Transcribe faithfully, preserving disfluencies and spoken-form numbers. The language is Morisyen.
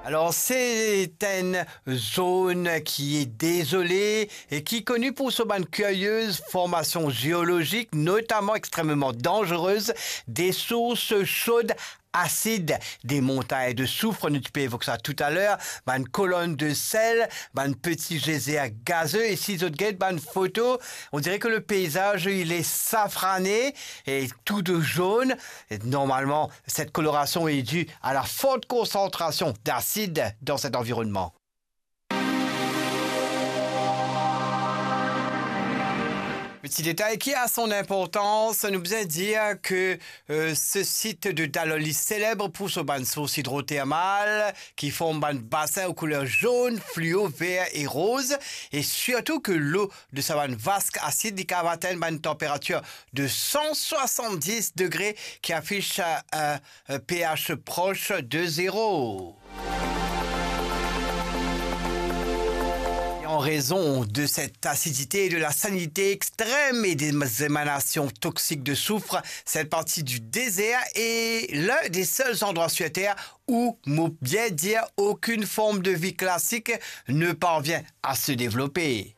Alors, c'est une zone qui est désolée et qui est connue pour son bann curieuses formations géologiques, notamment extrêmement dangereuses, des sources chaudes acides, des montagnes de soufre, nou ti pe evok sa toutaler, bann kolonn de sel, bann peti gezer gazeux, e si zot get bann foto, on dirait que le paysage, il est safrané et tout de jaune. Et normalement, cette coloration est due à la forte concentration d'acide dans cet environnement. Petit détail qui a son importance, nou bizin dir ke, euh, ce site de Dalhousie célèbre pour son bann sources hydrothermales qui forment bann basin aux couleurs jaune, fluo, vert et rose, et surtout que l'eau de sa bann vask asid, li kapav atenn bann température de cent soixante-dix degrés qui affiche, euh, un pH proche de zéro. Et en raison de cette acidité et de la salinité extrême et des émanations toxiques de soufre, cette partie du désert est l'un des seuls endroits sur Terre où, mo bien dire, aucune forme de vie classique ne parvient à se développer.